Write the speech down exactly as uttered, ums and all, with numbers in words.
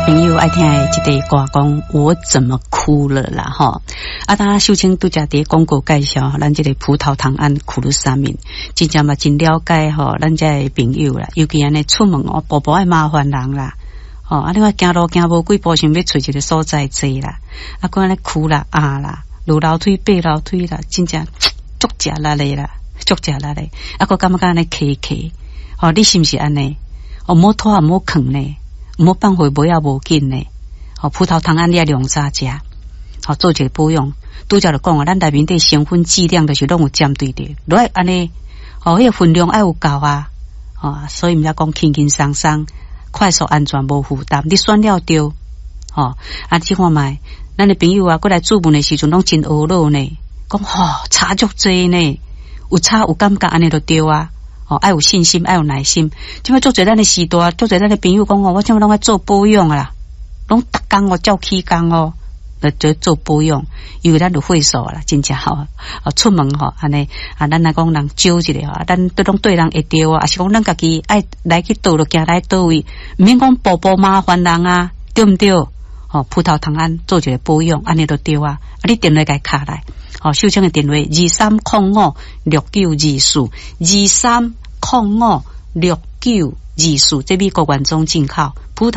朋友愛聽的這個歌講，我怎麼哭了啦？吼！啊，當秀清拄才佇廣告介紹，咱這個葡萄糖胺苦魯沙明，真正嘛真了解吼，咱這个朋友啦，尤其按呢出門哦，步步愛麻煩人啦，吼！啊，你看行路行無幾步，想欲揣一個所在坐啦，啊，閣按呢趺啦、壓啦，落樓梯、爬樓梯啦，真正足食力的啦，足食力的，啊，閣感覺按呢磕磕，吼，你是毋是按呢？哦，毋好拖，毋好囥呢，毋好放予尾仔無緊呢。吼，葡萄糖胺你愛量早食，吼，做一個保養。拄才就講啊，咱內面底成分劑量就是攏有針對的，落來按呢，吼，彼個分量愛有夠啊，吼，所以毋才講輕輕鬆鬆、快速、安全、無負擔，你選了對，吼，啊，這看覓，咱的朋友啊，閣來諮問的時陣攏真懊惱呢，講吼差足濟呢，有差有感覺按呢就對啊。哦，愛有信心，愛有耐心。這擺足濟咱的時代，足濟咱的朋友講哦，我這擺攏愛做保養啦，攏逐工哦照起工哦，來做做保養，因為咱就歲數啦，真正吼，哦出門吼按呢啊，咱來講人招一下吼，咱都攏對人會著啊，抑是講咱家己愛來去佗就行來佗位，毋免講步步麻煩人啊，對毋對？吼，葡萄糖胺做一個保養，按呢就對啊。啊，你電話共敲來。吼，秀清的電話二三空五六九二四，二三空五六九二四，這美國原裝進口葡萄。